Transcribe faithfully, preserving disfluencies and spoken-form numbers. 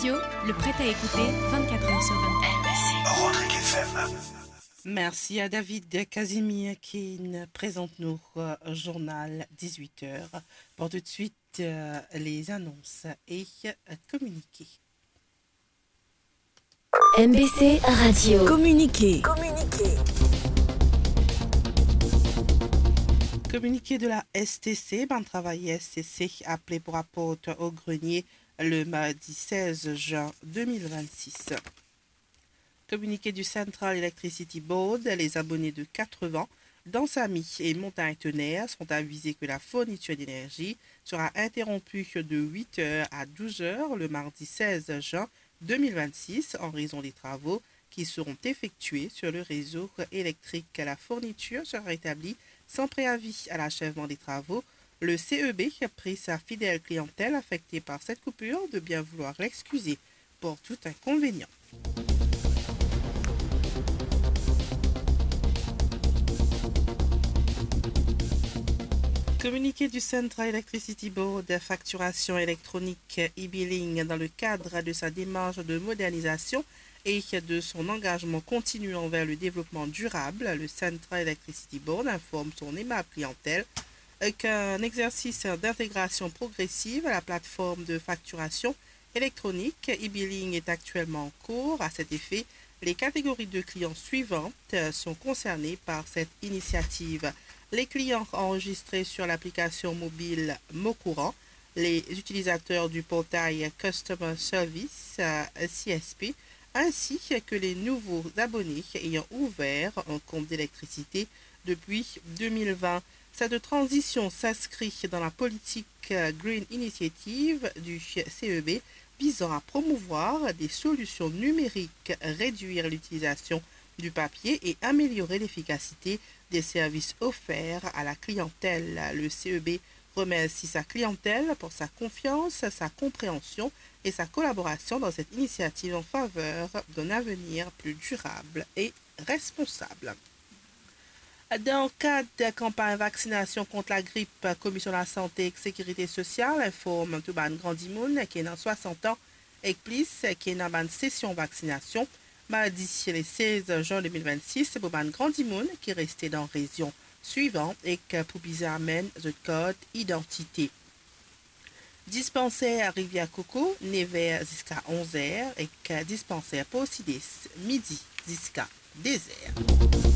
Radio, le prêt à écouter vingt-quatre heures sur vingt-quatre. Rodrigues F M. Mersi a David Casimir ki'nn prezant nou, euh, journal dix-huit heures. Pour tout de suite, euh, les annonces et, euh, communiqués. M B C Radio. Communiqué. Communiqué de la S T C, bann travayer S T C apele pou raport o grenie le mardi seize juin deux mille vingt-six. Communiqué du Central Electricity Board, les abonnés de Quatre-Vents, Dansamy et Montagne Tonnerre sont avisés que la fourniture d'énergie sera interrompue de huit heures à douze heures le mardi seize juin deux mille vingt-six en raison des travaux qui seront effectués sur le réseau électrique. La fourniture sera rétablie sans préavis à l'achèvement des travaux. Le C E B prie sa fidèle clientèle affectée par cette coupure de bien vouloir l'excuser pour tout inconvénient. Communiqué du Central Electricity Board, facturation électronique, e-billing, dans le cadre de sa démarche de modernisation et de son engagement continu envers le développement durable, le Central Electricity Board informe son aimable clientèle, euh, qu'un exercice d'intégration progressive à la plateforme de facturation électronique e-billing est actuellement en cours. À cet effet, les catégories de clients suivantes, euh, sont concernées par cette initiative. Les clients enregistrés sur l'application mobile Mon Courant, les utilisateurs du portail Customer Service, euh, C S P, ainsi que les nouveaux abonnés ayant ouvert un compte d'électricité depuis deux mille vingt. Cette transition s'inscrit dans la politique, euh, Green Initiative du C E B visant à promouvoir des solutions numériques, réduire l'utilisation du papier et améliorer l'efficacité des services offerts à la clientèle. Le C E B remercie sa clientèle pour sa confiance, sa compréhension et sa collaboration dans cette initiative en faveur d'un avenir plus durable et responsable. Dan kad kanpagn vaksinasion kont lagrip, Komisyon Lasante ek Sekirite Sosial inform tou bann gran dimoun ki ena swasant an ek plis ki ena bann sesion vaksinasion mardi le seize juin deux mille vingt-six pou bann gran dimoun ki reste dan rezion swivan ek pou bizin amenn zot kart idantite. Dispanser Rivière Coco, nev er ziska onz er, ek dispanser Porcides, midi ziska de zer.